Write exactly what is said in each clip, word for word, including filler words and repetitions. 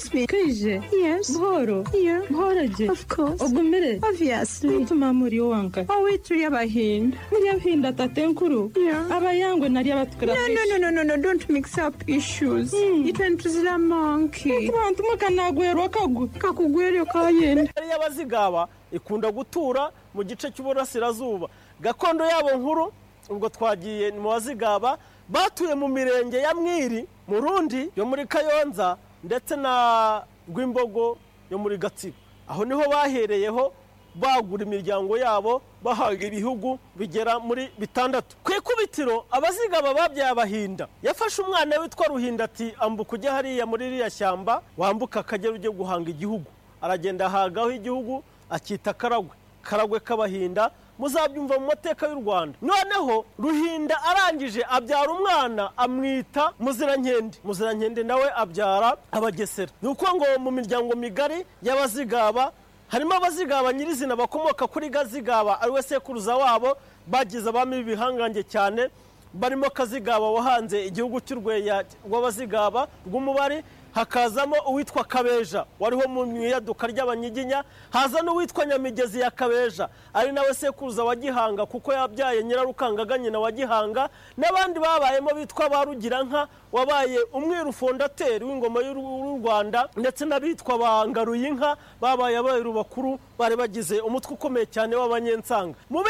Excuse me. Kaije. Yes. Buhoro. Yeah. Buhoro gye. Of course. Ogumire. Obviously. Bituma muri owanka. Owe turi abahinda. Muri abahinda tate nkuru. Yeah. Abayangwe nari abatukura. No, no, no, no, no, no, don't mix up issues. Mm. Itwe ntuzira monkey. Abantu mukanagwerwa kagu. Kakugweryo kayenda. Y'abazigaba ikunda gutura mu gice cy'uburasirazuba. Gakondo yabo nkuru ubwo twagiye mu bazigaba batuye mu mirenge ya Mwiri, Murundi yo muri Kayonza ndetse na Rwimbogo yo muri Gatsibo. Aho niho bahereyeho bagura imiryango yabo bahaga ibihugu bigera muri bitandatu. Ku ikubitiro abazigaba babyaye abahinda. Yafashe umwana witwa Ruhinda ati ambuka ujye hariya muri ririya shyamba wambuka Akagera ujye guhanga igihugu. Aragenda ahagaho igihugu akita Karagwe, Karagwe k'abahinda, muzabyumva mu mateka y'u Rwanda. Noneho Ruhinda arangije abyara umwana amwita Muzirankende. Muzirankende nawe abyara Abagesera. Ni uko ngo mu miryango migari y'abazigaba harimo abazigaba nyirizina bakomoka kuri Gazigaba ariwe sekuruza wabo, bagize abami b'ibihangange cyane barimo Kazigaba wahanze igihugu cy'Urweya rw'abazigaba rw'umubari, hakazamo uwitwa Kabeja wariho mu iyaduka ry'Abanyiginya, haza n'uwitwa Nyamigezi ya Kabeja ari nawe sekuruza wa Gihanga kuko yabyaye Nyirarukangaga nyina wa Gihanga, n'abandi babayemo bitwa ba Rugiranka wabaye umwiru fondateri w'ingoma y'u Rwanda, ndetse n'abitwa ba Ngaruyinka babaye abayiru bakuru bari bagize umutwe ukomeye cyane w'abanyensanga. Mu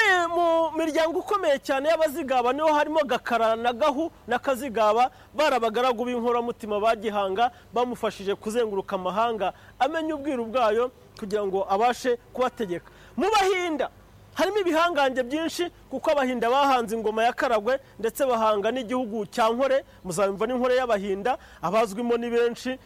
miryango ikomeye cyane y'abazigaba niho harimo Gakara na Gahu na Kazigaba, bari abagaragu b'inkoramutima ba Gihanga bamufashije kuzenguruka amahanga amenya ubwiru bwayo kugira ngo abashe kubategeka. Mu bahinda harimo ibihangange byinshi kuko abahinda bahanze ingoma ya Karagwe ndetse bahanga n'igihugu cya Nkore, muzabimva n'inkore y'abahinda abazwimo ni benshi.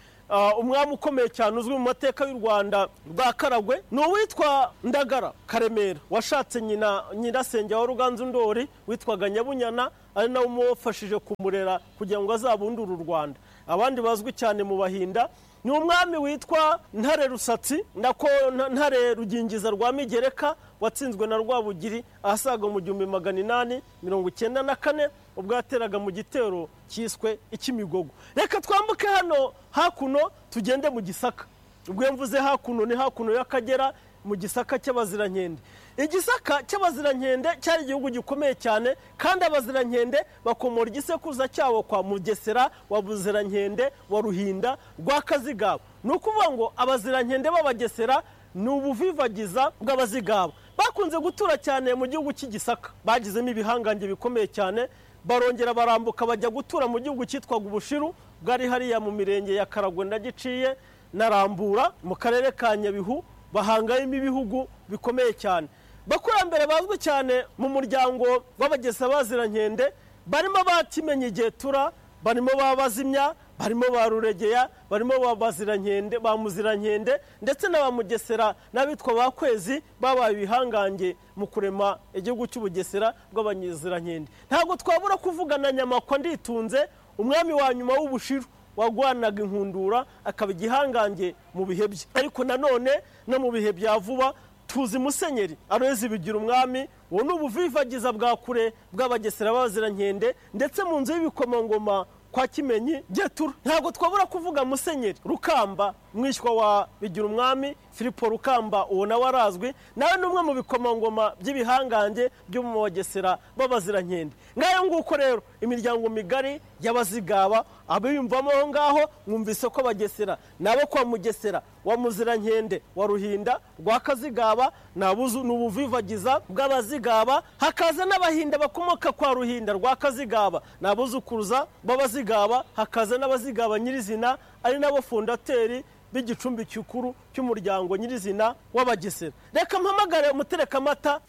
Umwami ukomeye cyane uzwi mu mateka y'u Rwanda rwa Karagwe ni uwitwa Ndagara Karemera washatse nyina nyirasenge wa Ruganzu Ndori witwaga Nyabunyana, ari nawe umufashije kumurera kugira ngo azabundure u Rwanda. Abandi bazwi cyane mu bahinda ni umwami witwa Ntare Rusatsi nako Ntare Rugingiza rwa Migereka watsinzwe na Rwabugiri ahasaga mu gihumbi magana inani mirongo icyenda na kane ubwo yateraga mu gitero cyiswe icy'Imigogo. Reka twambuke hano hakuno tugende mu Gisaka. Ubwo mvuze hakuno ni hakuno y'Akagera mu Gisaka cy'Abazirankende. Igisaka cy'Abazirankende cyari igihugu gikomeye cyane, kandi Abazirankende bakomora igisekuruza cyabo kwa Mugesera wa Buzirankende wa Ruhinda rwa Kazigaba. Ni ukuvuga ngo Abazirankende b'Abagesera ni ubuvivagiza bw'Abazigaba. Bakunze gutura cyane mu gihugu cy'Igisaka, bagizemo ibihangange bikomeye cyane, barongera barambuka bajya gutura mu gihugu cyitwaga Ubushiru bwari hariya mu mirenge ya Karagwe na Giciye na Rambura mu karere ka Nyabihu, bahangayemo ibihugu bikomeye cyane. Bakurambere bazwi cyane mu muryango w'Abagesa Bazirankende barimo ba Kimenyi Getura, barimo ba Bazimya, barimo ba Ruregeya, barimo ba Bazirankende, ba Muzirankende ndetse na ba Mugesera n'abitwa ba Kwezi babaye ibihangange mu kurema igihugu cy'Ubugesera bw'Abanyizirankende. Ntabwo twabura kuvugana Nyamakwa Nditunze, umwami wa nyuma w'Ubushiru wagwanaga inkundura akaba igihangange mu bihe bye. Ariko nanone no mu bihe bya vuba tuzi Musenyeri Aloys Bigira Umwami, uwo ni ubuvivagiza bwa kure bw'Abagesera b'Abazirankende ndetse mu nzu y'ibikomangoma kwa Kimenyi Getura. Ntabwo twabura kuvuga Musenyeri Rukamba mwishywa wa Bigira Umwami Filipo Rukamba, uwo nawe arazwi, nawe ni umwe mu bikomangoma by'ibihangange byo mu Bagesera b'Abazirankende. Ngayo nguko rero imiryango migari y'abazigaba abiyumvamo aho ngaho mwumvise ko Abagesera nabo kwa Mugesera wa Muzirankende wa Ruhinda rwa Kazigaba nabuzu n'ubuvivagiza bw'abazigaba, hakaza n'abahinda bakomoka kwa Ruhinda rwa Kazigaba nabuzukuruza b'abazigaba, hakaza n'abazigaba nyirizina ari nabo fondateri b'igicumbi gikuru cy'umuryango nyirizina w'Abagesera. Reka mpamagare umuterekamata.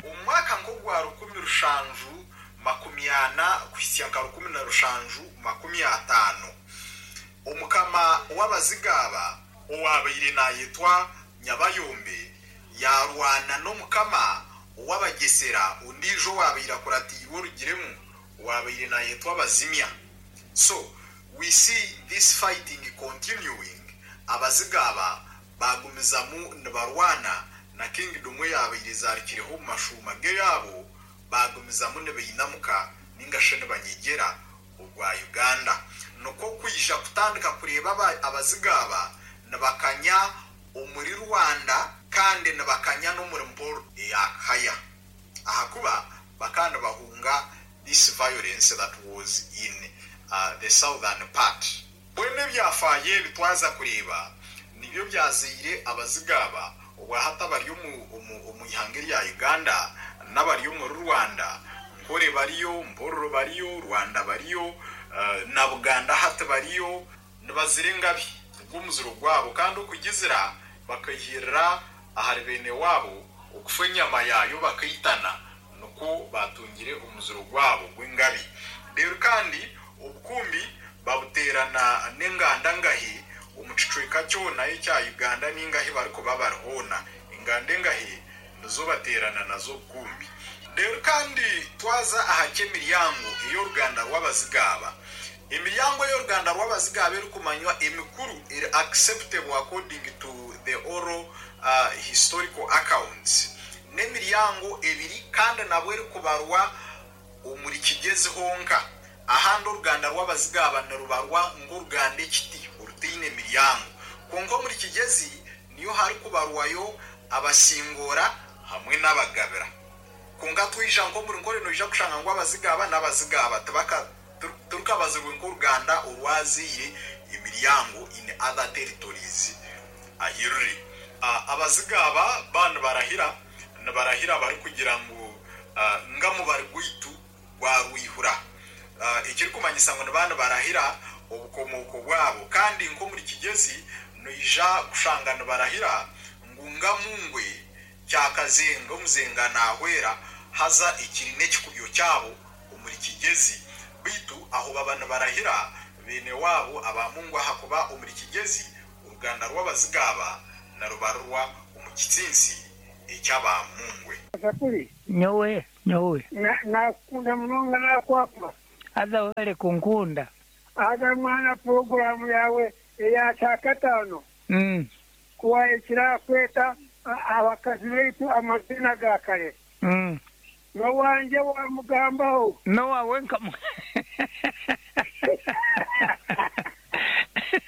Umwaka ngo gwa rukumi rushanju makumi ana kuhisya nka rukumi na rushanju makumi atano, omukama w'abazigaba owabaire nayetwa Nyabayombe yarwana n'omukama ow'Abagesera ondiijo owabaire akuratiirwe Orugiremu owabaire nayetwa Bazimya. So we see this fighting continuing. Abazigaba bagumizamu nibarwana na kingdom eyabaire ezaarikireho omu mashuuma ge yaabo, bagumizamu nibainamuka ninga shi nibanyegyera ogwa Uganda. Nikwo kwija kutandika kutandika kureeba Abazigaba nibakanya omuri Rwanda kandi nibakanya n'omuri Mporo eya Kaya, ahakuba bakaba nibahunga this violence that was in uh, the southern part. Bwene ebyafaayo ebi twaza kureeba nibyo byazaire Abazigaba obwahati bari omu ihanga rya Uganda n'abari omuri Rwanda. Nkore bariyo, Mpororo bariyo, Rwanda bariyo, uh, na Buganda hati bariyo, nibazira engabi gw'omuziro gwabo, kandi okugizira bakahirira ahari bene wabo okufa enyama yayo bakaitana, nikwo batungire omuziro gwabo gw'engabi. Rero kandi obukumbi babuterana n'enganda ngahi omu kicweka kyona ekya Uganda n'ingahi barikuba barihoona, enganda engahi nizo baterana nazo obukumbi. Rero kandi twaza aha ky'emiryango ey'oruganda rw'Abazigaba. Emiryango y'oruganda rw'Abazigaba erikumanywa emikuru eri acceptable according to the oral uh, historical accounts n'emiryango ebiri, kandi nabwo erikubarwa omuri Kigezi honka. Ahandi oruganda rw'Abazigaba nirubarwa ng'oruganda ekiti orutaine emiryango, kwonka omuri Kigezi niyo harikubarwayo Abasingora hamwe n'Abagabira. Kwonka twija nk'omuri Nkore noija kushanga ngu Abazigaba n'Abazigaba tibaka turukabazirwe nk'oruganda orwaziire emiryango in other territories ahiruri. Abazigaba ba nibarahira nibarahira barikugira ngu ngamu bari gwaitu gwarwihura, ekirikumanyisa ngu niba nibarahira obukomooko bwabo. Kandi nk'omuri Kigezi noija kushanga nibarahira ngu ngamungwe kyakazenga omuzenga nahwera haza ekiri n'ekikubyo kyabo omuri Kigezi. Baitu aho baba nibarahira bene wabo Abamungwa, ahakuba omuri Kigezi oruganda rw'Abazigaba narubarurwa omu kitsinsi eky'Abamungwe. Nyowe nyowe nakunda munonga nakwakwa aza wale kunkunda aza mwana programu yawe eya kyakataano mm. kuwa ekira kweta abakazi baitu amazina ga kare mm. nowanje wamugambaho nowawe nkamu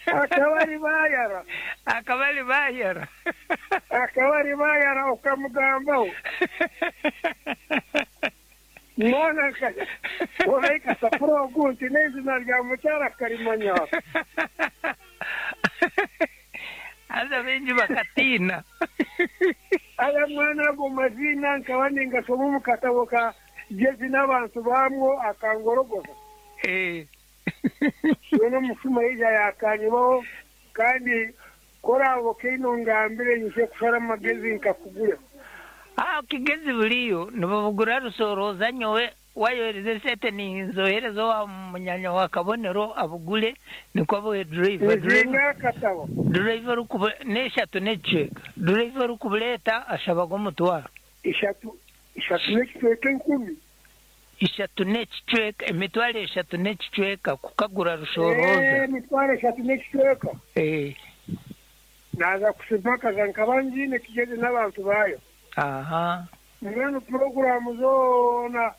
akabari bayara akabari bayara akabari bayara okamugambaho mwana olaika sapuro ogunti n'izina rya mukyara karimanya aza bengi bakatina aya mwana ago mazina nkaba ningasoma omu katabo ka Jezi n'abantu bamwo akangorogoza eh wena omushuma ija yakanyibaho kandi korabo keino ngambire nyise kushara amagezi nkakugure. Ah, Kigezi buliyo nibabugura rusoroza nyowe wayohereze sente ninzohereza wa munyanya wa Kabonero abugule nikwo abuhe driver driver akatabo driver rukuba n'eshatu n'ekicweka driver rukubuleeta ashabaga omutwaro ishatu ishatu n'ekicweka enkumi ishatu n'ekicweka emitwaro eshatu n'ekicweka kukagura rushoroza emitwaro eshatu n'ekicweka eh naza kusipakaza nkaba ngiine Kigezi n'abantu bayo. Aha mbwenu puroguramu zoona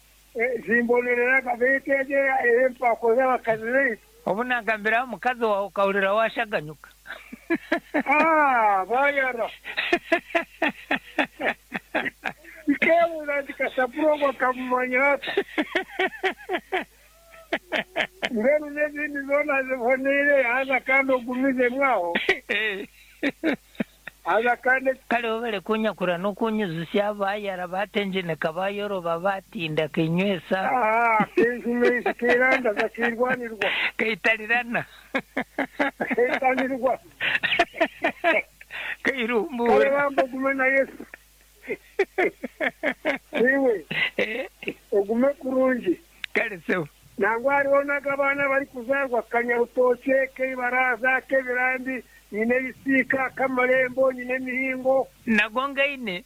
zimbonereraga beetegera empako z'abakazi baitu. Obu nagambiraho omukazi wawe okahurira washaganyuka. Ah, bayara nkebuuza nti kasapuro kamumanya ata mbwenu n'ezindi zoona ziboneire haza kandi ogumizemu aho haza kandi kale bale kunyakura n'okunyuzusya bayara batenjeneka bayoroba batinda kinywesa ah kinywesa kirandaza kirwanirwa kaitalirana kaitalirwa kairumbura kale bamba ogume na Yesu iwe ogume kurungi kale sewo nangwa hariho n'abaana bari kuzarwa kanyarutoke k'ibaraza k'ebirambi nyine ebisiika k'amarembo nyine emihingo nago ngaine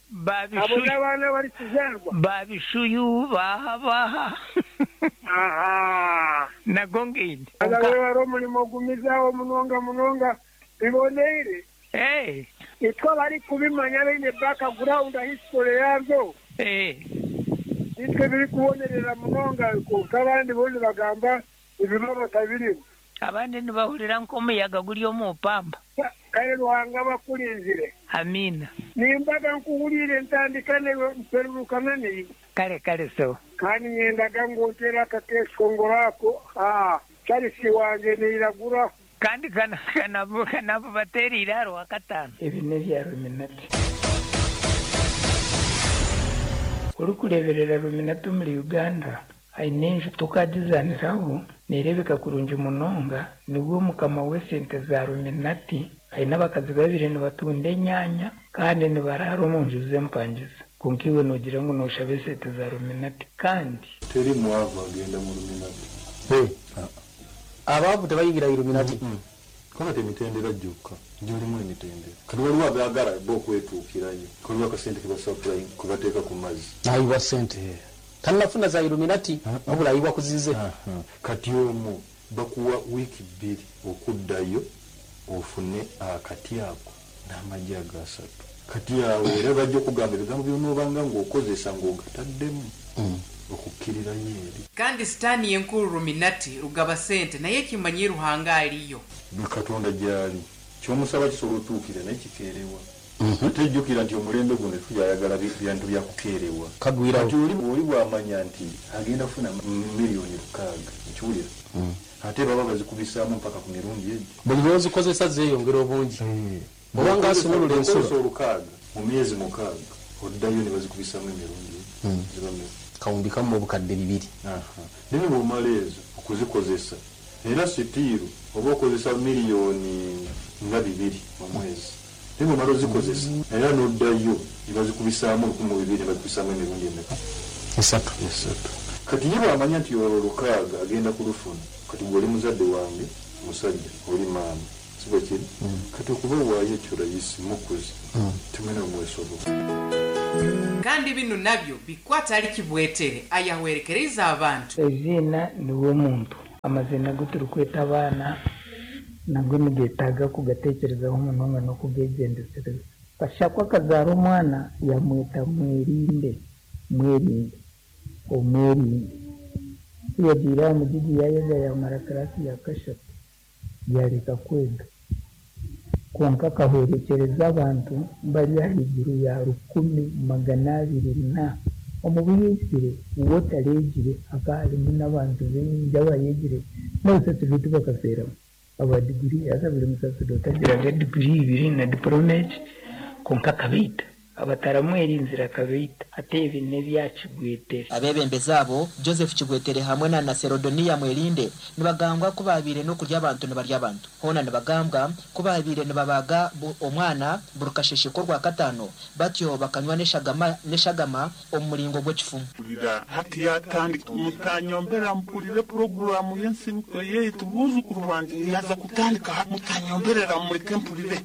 abo n'abaana bari kuzarwa babishuyu baha baha aha nago ngaine aza wari omurimo gumizaho munonga munonga biboneire eh itwe bari kubimanya baine background history yabyo eh nitwe biri kubonerera munonga konka abandi bone bagamba ibiba batabirimu. Abandi nibahurira nk'omuyaga guri omu pamba. Kale Ruhanga bakulinzire. Amina. Nimbaga nkuhulire ntandika newe mperurukana niwe. Kale kale so. Kandi nyendaga ngontera akakeshongoro ako. Ah, Charles wange neiragura. Kandi kana kana kana baterire haro akatano. Ebi n'ebya Ruminati. Orikureeberera Ruminati omuri Uganda aine enju tukagizaniraho neerebeka kurungi munonga nibwo mukama w'esente za Ruminati aine abakazi babiri nibatunda enyanya kandi nibarara omu nju z'empangiza. Kwonka iwe noogira ngu nooshaba esente za Ruminati kandi teri mwavu agenda mu Ruminati. Abaavu tebayingira Illuminati. Kaba emitendera gyokka gyolimu emitendera kati waliwo abaagala bo okwetuukirayo, waliwo akasente kebasapula kebateeka ku mazzi. Ayiwa sente tannafuna za Illuminati wabula ayiwa kuzize. Kati omwo bakuwa wiiki bbiri okuddayo ofune akati ako n'amagi agasatu. Kati awo era bajja okugamba ebigambo by'onoobanga ng'okozesa ng'ogataddemu okukkirirayo eri. Kandi sitaani yenkuru Ruminati rugaba sente naye kimanyi Ruhanga aliyo. Katonda gy'ali ky'omusaba kisobola otuukira naye kikeerewa. Ate jjukira nti omulembe guno tukyayagala bintu bya kukeerewa. Kagwirawo. Kati oli oli bw'amanya nti agenda kufuna miliyoni lukaaga nkiwulira, ate baba bazikubisaamu mpaka ku mirundi egyo. Buli lw'ozikozesa zeeyongera obungi. Oba ng'asumulula ensulo. Olukaaga mu myezi mukaaga oddayo ne bazikubisaamu emirundi egyo ziba mmeka? Kawumbi kamu obukadde bibiri. Naye bw'omala ezo okuzikozesa era sitiiru oba okozesa miliyoni nga bibiri mu mwezi. Naye bw'omala ozikozesa era n'oddayo ne bazikubisaamu lukumi mu bibiri ne bazikubisaamu emirundi emeka? Esatu. Esatu. Kati ye bw'amanya nti olwo lukaaga agenda kulufuna, kati gwe oli muzadde wange musajja oli maama si bwe kiri? Kati okuba waayo ekyo rayisi mukuzi tumene omwesobo. Kandi bino nabyo bikwata ali Kibwetere ayahwerekereza abantu. Ezina niwe muntu amazina agu turikweta abaana nago nigeetaaga kugateekerezaho munonga n'okugegyendesereza. Kashakwa akazaara omwana yamweta Mwerinde, Mwerinde, Omwerinde. Ku yagiire aha mugigi yayega yamara kirasi ya kashatu yareka kwega. Kwonka akahwerekyereza abantu bari ahaiguru ya rukumi magana abiri na omu buyisire uwo tareegire hakaba harimu n'abantu baingi abayegire n'abasaserdoti bakafeeramu. Aba diguri haza buri musaserdoti agiraga diguri ibiri na diporome egi kwonka akabaita. Abataramwerinzire akabaita. Ate ebi n'ebya Kibwetere. Abebembezi abo Joseph Kibwetere hamwe na Naserodoniya Mwerinde nibagambwa ku baabire n'okurya abantu nibarya abantu. Hoona nibagambwa ku baabire nibabaga omwana buri kasheshe k'orwa katano batyo bakanywa n'eshagama n'eshagama omu muringo gw'ekifumu. Hati yatandika mutanyombera mpurire poroguramu y'ensibuko yaitu buzukuru banje yaza kutandika mutanyomberera mureke mpurire.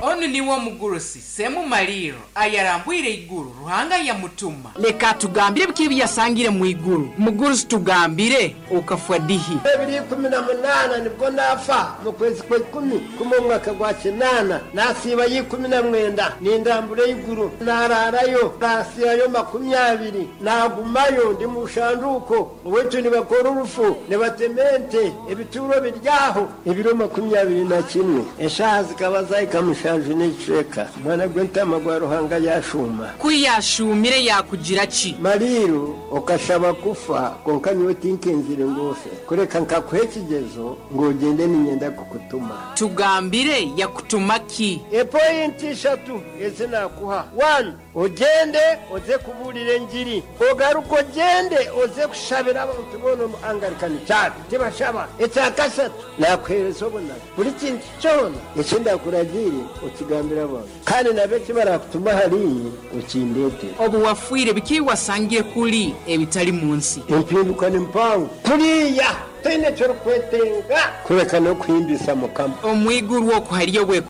Onu niwo mugurusi Semu Maliro ayarambwire iguru Ruhanga yamutuma. Leka tugambire biki byasangire mu iguru. Mugurusi tugambire okafwa dihi. Bibiri kumi na munana nibwo nafa mu kwezi kwa ikumi kumwe mwaka gwa kinana nasiba y'ikumi na mwenda nindambure iguru nararayo nasiyayo makumyabiri nagumayo ndi mu shanduko wetu nibakora urufu nibatemente ebituro biryaho ebiro makumyabiri na kimwe eshaha zikaba zayikamusha n'ekicweka mwana gw'entama gwa Ruhanga yashuma. Kuyashumire yakugira ki? Maliro okashaba kufa konka nyowe tinkenzire ngofe kureka nkakuha ekigezo ng'ogende ninyenda kukutuma. Tugambire yakutuma ki? Epointi ishatu ezi nakuha. One, ogende oze kubuulira enjiri, ogaruka ogende oze kushabira abantu boona omu Anglican Church tibashaba. Ekyakashatu nakuheereza obunabi buri kintu kyona eki ndakuragiire okigambira abantu kandi nabo eki barakutuma hariye okindeetere. Obu wafiire biki wasangire kuri ebitari mu nsi? Empinduka ni mpango kuriya toine eky'orikwetenga kureka n'okuhimbisa Mukama. Omwiguru okwo hariyo bwe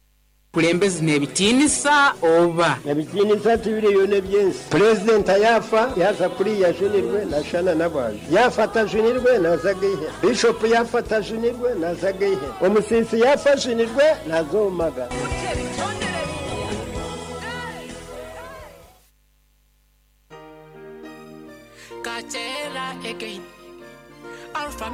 kulembezi n'ebitiinisa oba ebitiinisa tibiriyo n'ebyensi. Purezidenti yafa yaza kuriya ajunirwe nashana n'abantu, yafa atajunirwe naza geihe, bishopu yafa atajunirwe naza geihe, omusisi yafa ajunirwe nazomaga.